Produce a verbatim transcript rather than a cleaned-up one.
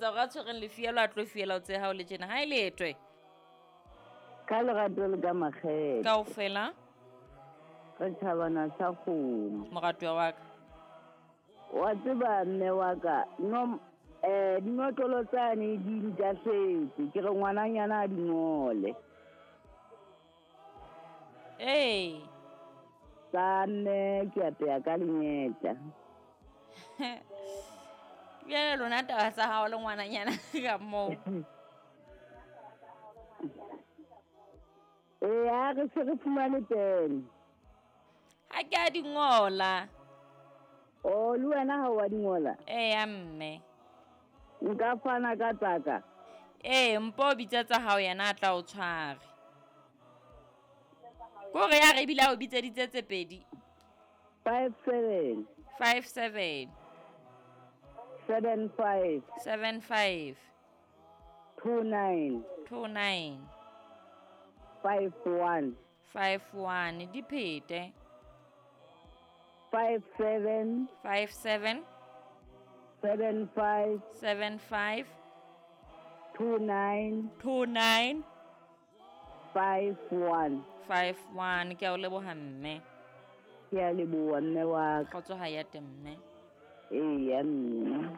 Hore a tshwereng lefielo a tlo fiela o tse hao le tjena ha e letwe. Ka lerato le ka makgethe. Kaofela. Re thabana sa kgomo. Moratuwa wa ka. Wa tseba mme wa ka, no eh dinotlolo tsane di ntahletse, ke re ngwananyana a di ngole. Ee. Tsa mme ke apeya ka lenyetla. Bjale lona taba tsa hao le ngwananyana ka moo. Ee, ha re se re fumane pene. Ha ke a di ngola. Oh, le wena ha wa di ngola? Eya mme. Nka fana ka tsaka. Ee, mpo o bitsa tsa hao yena a tla o tshware. Kore ya re ebile a o bitseditse tse pedi. Five seven. Five seven. Seven five. Seven five. Two nine. Two nine. Five one. Five one. Di phete. Five seven. Five seven. Seven five. Seven five. Two nine. Two nine. Five one. Five one. Ke a o leboha mme. Ke a leboha mme wa ka. Kgotso ha ya te mme. Eya mme.